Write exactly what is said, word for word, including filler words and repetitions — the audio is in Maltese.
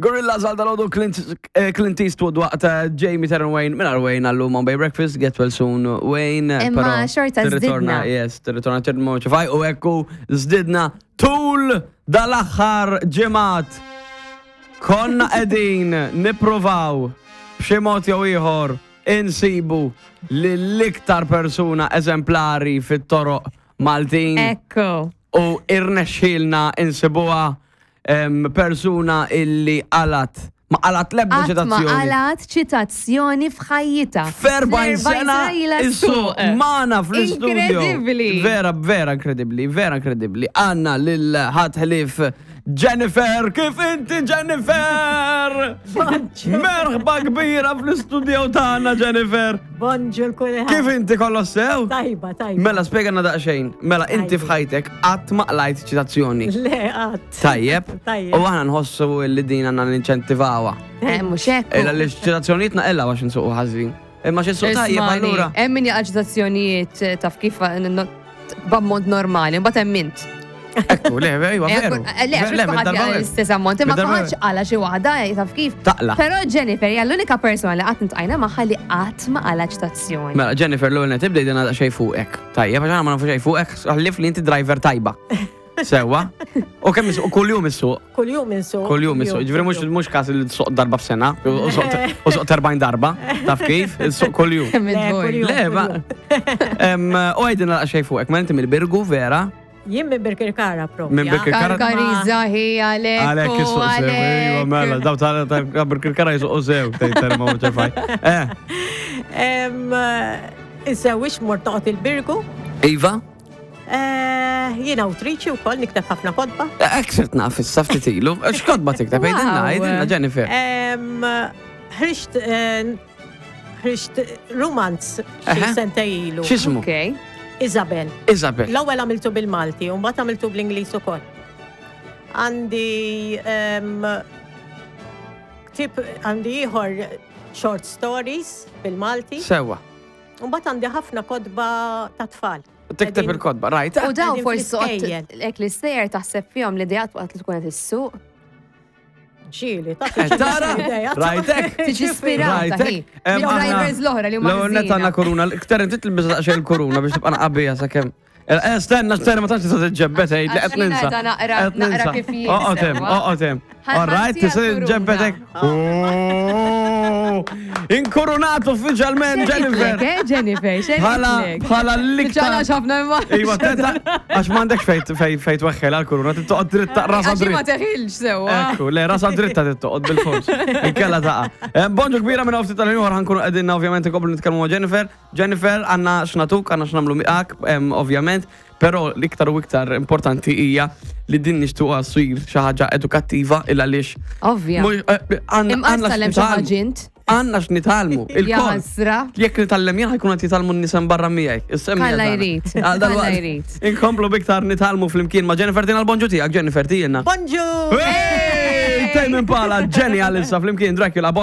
Gorillaz għal dalgħodu Clint, eh, Clint Eastwood waqt eh, Jamie Terran Wayne, minn Wayne għallum on Bay Breakfast, get well soon Wayne. Imma però xorta tirritorna, żdidna. Yes, tirritorna tirritorna ċifaj u ekku żdidna tul dal-aħħar ġimgħat. Konna qegħdin nippruvaw b'xi mod jew ieħor insibu lill-iktar persuna eżemplari fit-toroq Maltin Ekku. u irnexxielna insibuha em, persuna illi qalat ma qalat lebda Qatt ma ċitazzjoni. qalat ċitazzjoni f'ħajjitha. F'erbgħin sena ilha issuq magħna fl-istudio. Inkredibbli. Vera, vera inkredibbli, vera inkredibbli. Għandna lil ħadd ħlief Jennifer, kif inti Jennifer? Merħba kbira fl-istudio tagħna Jennifer. Bonġu l-kulħadd. Kif inti kollox sew? Tajba, tajba. Mela spjegana daqsxejn. Mela inti Tajba. f'ħajtek qatt ma qlajt ċitazzjoni. Le, qatt. Tajjeb. Tajjeb. U aħna nħossu li din għandna ninċentivawha. Eh, mhux hekk. Illa li ċitazzjonijiet naqilgħu għax nsuqu ħażin. Imma xi suq tajjeb Ismani, allura. Hemm min jaqa' ċitazzjonijiet eh, taf kif eh, no- b'ammont normali, mbagħad hemm int. Ekku, le, ejwa, Eh, veru. eh, Le, għax Le, mhux kulħadd minn darba jaqa' l-istess ammont, imma Minn darba kulħadd qala xi waħda, eh, taf kif. Taqla. Però Jennifer hija l-unika persona li qatt intqajna magħha li qatt ma qala ċitazzjoni. Mela, Jennifer, l-ewwel nett ibda jdina xejn fuqek. Tajjeb, għax aħna ma nafu xejn fuqek, ħlief li inti driver tajba. Sewwa. U kemm issuq, kuljum issuq. Kuljum insuq. Kuljum issuq. Ġifieri mhux mhux każ li tsuq darba f'sena, u suq- u suq erbgħin darba, taf kif? Issuq kuljum. Kemm Le, id-dvor. kuljum. Le, ma. Em, U għidilna xejn fuqek, ma inti mill-Birgu, vera? Jien minn Birkirkara propja. Minn Birkirkara. Karkariza hi għalek. Għalek issuq sew, ejwa, mela, daw ta' ta' Birkirkara jisuqu sew, tgħid terma u ċefaj. Eh, Em, Insewwix mort noqgħod il-Birgu. Iva? Eh, Jien awtriċi wkoll nikteb ħafna kotba. Ek sirt naf issa ftit ilu. X'kotba tikteb? Għidilna, Wow. għidilna, Jennifer. Em, Ħriġt eh, ħriġt romanz xi Eħe. sentejn ilu. X'ismu? Ok. Isabel. Isabel. L-ewwel għamiltu bil-Malti u mbagħad għamiltu bl-Ingliż ukoll. Għandi em, tip għandi ieħor short stories bil-Malti. Sewwa. U mbagħad għandi ħafna kotba ta' tfal. Tikteb Qegħdin- il-kotba, rajt? U daw Qegħdin forsi fl-iskejjel. ek l-istejjer taħseb fihom li dijat waqt li tkun qed issuq. Ġieli, ta' Eh, Tara, rajtek? Tiġi ispirata hi. Rajtek? Em, aħna- Drivers l-oħra li huma L-ewwel nett għandna ħżiena. koruna, kter inti tilbis daqsxejn il-koruna biex tibqa' naqabija sakemm. Eh, stenna, stenna, ma tantx tista' tiġġebbet ej, li Għax qed ninsa. jiena qiegħda naqra- Qed naqra ninsa. kif jien, Oqgħod hemm, sewwa. oqgħod hemm. Ħa- All right, ħansi tista' għall-kuruna. tiġġebbet hekk. Oh, Inkurunat uffiċjalment Jennifer. Xejn eh, Jennifer, xejn. Bħala bħala l-iktar. Ġala ħafna imma. Iva, tenta, għax m'għandekx fejn fejn fejn tweħħel għall-kuruna, tittoqgħod dritta rasa Għax ma dritt. teħilx sewwa. Ekku, le, rasa dritta tittoqgħod bil-fors. Inkella taqa. Eh, Bonġu kbira minn ftit tal-ieħor ħa nkunu qegħdin ovvjament inkomplu nitkellmu ma' Jennifer. Jennifer, għandna x'natuk, għandna x'nagħmlu miegħek, em, ovvjament, però l-iktar u iktar importanti hija li din nixtuqha ssir xi ħaġa edukattiva il għaliex. Ovvja. mhux- eh, għandna Imqas għandna tallem xi x'nitgħallmu. ħaġa int. Għandna x'nitgħallmu. Ja Il-kol. ħasra. Jekk nitgħallem jien ħa jkun qed jitgħallmu n-nies barra miegħi. Is-semmi Alla tagħna. jrid. Għal Alla dalwaqt jrid. Inkomplu biktar nitgħallmu flimkien ma' Jennifer tina l-bonġu tiegħek, Jennifer tiegħna. Bonġu! Hey! Tame Impala, Jenny għalissa flimkien Dracula, bonġu.